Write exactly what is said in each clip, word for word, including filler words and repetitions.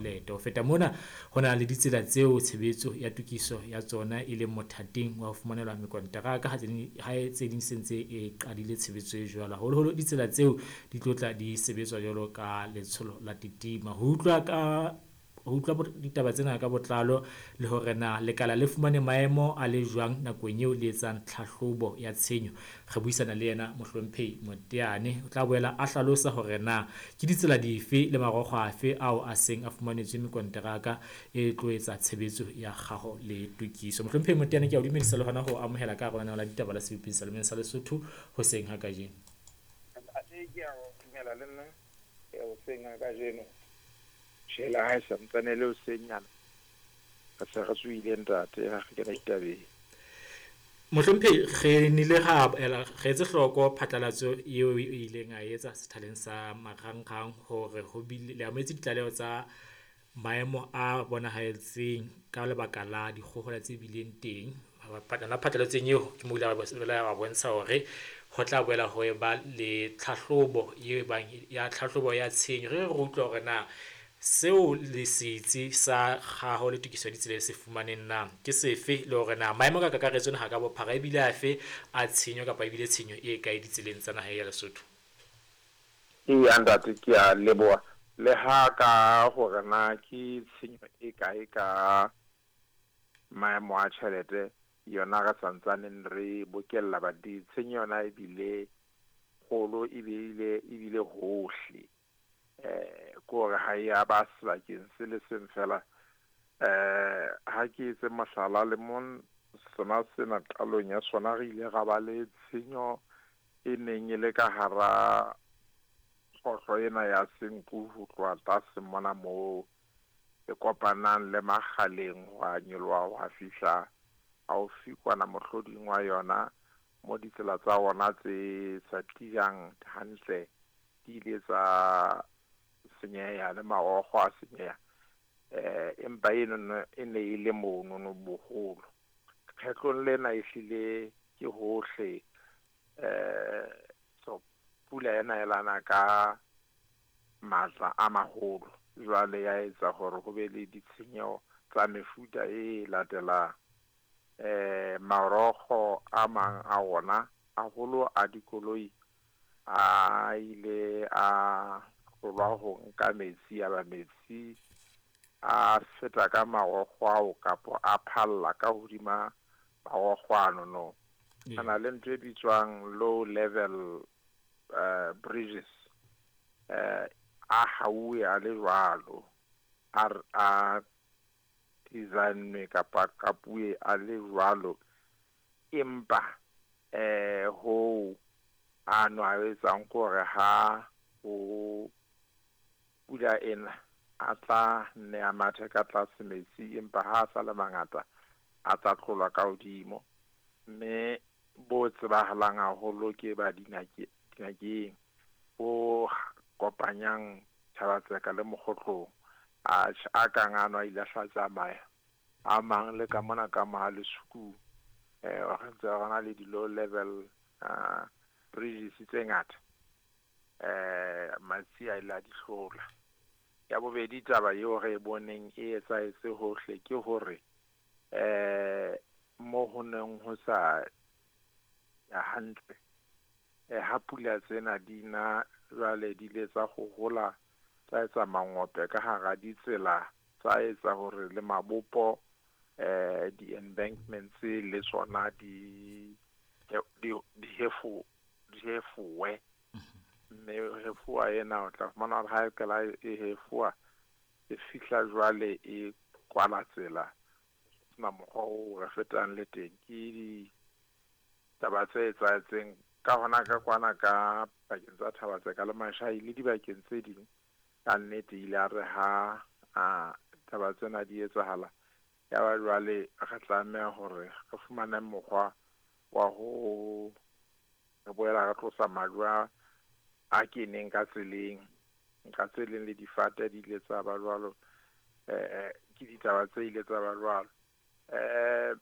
Ho feta mona, ho na le ditsela tseo tshebetso ya tokiso ya tsona e leng mothating wa ho fumanelwa mekonteraka ha tse ding se ntse e qadile tshebetso e jwalo. Haholoholo ditsela tseo di tlo tla di sebetswa jwalo ka letsholo la Titima. Ho utlwa ka ho utlwa ditaba tsena ka botlalo le hore na lekala le fumane maemo a le jwang nakong eo le etsang tlhahlobo ya tshenyo, re buisana le yena Mohlomphehi Moteane. O tla boela a hlalosa hore na ke ditsela dife le marokgo afe ao a seng a fumanetswe mekonteraka e tlo etsa tshebetso ya kgaho le tokiso. Mohlomphehi Moteane, ke a o dumedisa le hona ho amohela ka hare ho lenaneo la ditaba la Sebopeng sa Lemeng sa Lesotho hoseng ha kajeno. Ntate, ke a o dumela le nna hoseng ha kajeno. Tjhela ha e santsane le hoseng nyana. Re se re tsohile ntate, ha re kena ditabeng. Mohlomphehi, re nile ra ela re etse hloko phatlalatso eo e ileng a etsa sethaleng sa marangrang hore ho bile le amohetse ditlaleho tsa maemo a bonahetseng ka lebaka la dikgohola tse bileng teng. Yona phatlalatsong eo ke mo ile a bontsha hore ho tla boela ho eba le tlhahlobo e bang ya tlhahlobo ya tshenyo. Re re utlwa hore na seo le setsi sa kgaho le tokiso ya ditsela se fumaneng na ke sefe, le hore na maemo ka kakaretso naha ka bophara ebile afe a tshenyo kapa ebile tshenyo e kae ditseleng tsa naha ya Lesotho. Eya ntate, ke a leboha. Le ha ka hore na ke tshenyo e kae ka maemo a tjhelete yona re santsaneng re bokella, ba di tshenyo yona ebile kgolo, ebile ebile hohle. Eh ko re ha ya ba sebakeng se le seng fela. Eh ha ke etse mohlala le mon sona sena qalong ya sona re ile ra ba le tshenyo e neng e le ka hara kgohlo ena ya Senqu ho tloha tlase mona moo e kopanang le Makgaleng ho a nyoloha ho a fihla haufi kwana mohloding wa yona mo ditsela tsa ona tse sa tiyang hantle di ile tsa senyeha le marokgo a senyeha. Eh empa eno e ne e le monono boholo. Kgetlong lena ehlile ke hohle. Eh so pula ena e lana ka matla a maholo, jwale ya etsa hore ho be le ditshenyeho tsa mefuta e latelang. Eh marokgo a mang a ona haholo a dikoloi a ile a hlolwa ho nka metsi, ya ba metsi a feta ka marokgo ao kapa a phalla ka hodima marokgo ano no. Yeah. Ana le ntho e bitswang low level uh, bridges, eh a hauwe a le jwalo, a a designwe kapa kapuwe a le jwalo, empa eh ho ano a etsang hore ha ho pula ena a tla nne a mathe ka tlase metsi, empa ha a sa le mangata a tla tlolwa ka hodimo. Mme bo tsebahalang haholo ke ba Dinakeng bo kopanyang Thaba-Tseka le Mokgotlong, a a kang ano a ile a hla tsamaya. A mang le ka mona ka Mohale'shoek, eh re ntse re na le di-low level uh, bridges tse ngata, eh matsi a ile a di hlola. Ya bobedi taba eo re e boneng e etsahetse hohle ke hore eh mo ho neng ho sa ya hantle, eh ha pula tsena di na jwale di ile tsa hohola, tsa etsa mangope ka hara ditsela, tsa etsa hore le mabopo eh di-embankments le tsona di di di hefo di hefowe. Mme hefowa ena o tla fumana hore ha e qala e hefowa e fihla jwale e kwala tsela, sena mokgwa oo re fetang le teng. Ke ditaba tse etsahetseng ka hona ka kwana ka pakeng tsa Thaba-Tseka le Mashai le dibakeng tse ding. Ka nnete ile a re ha a taba tsena di etsahala, ya ba jwale re tlameha hore re fumane mokgwa wa ho re boela re tlosa majwe a a keneng ka tseleng, ka tseleng le difate di ile tsa ba jwalo. Eh ke ditaba tse ile tsa ba jwalo. Eh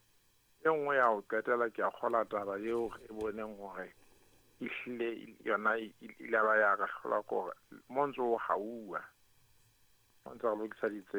e nngwe ya ho qetela ke a kgola taba eo re boneng hore ehlile yona e ile ba ya re hlola kore mo ntso ho hauwa. Ntse re lokisa ditsela.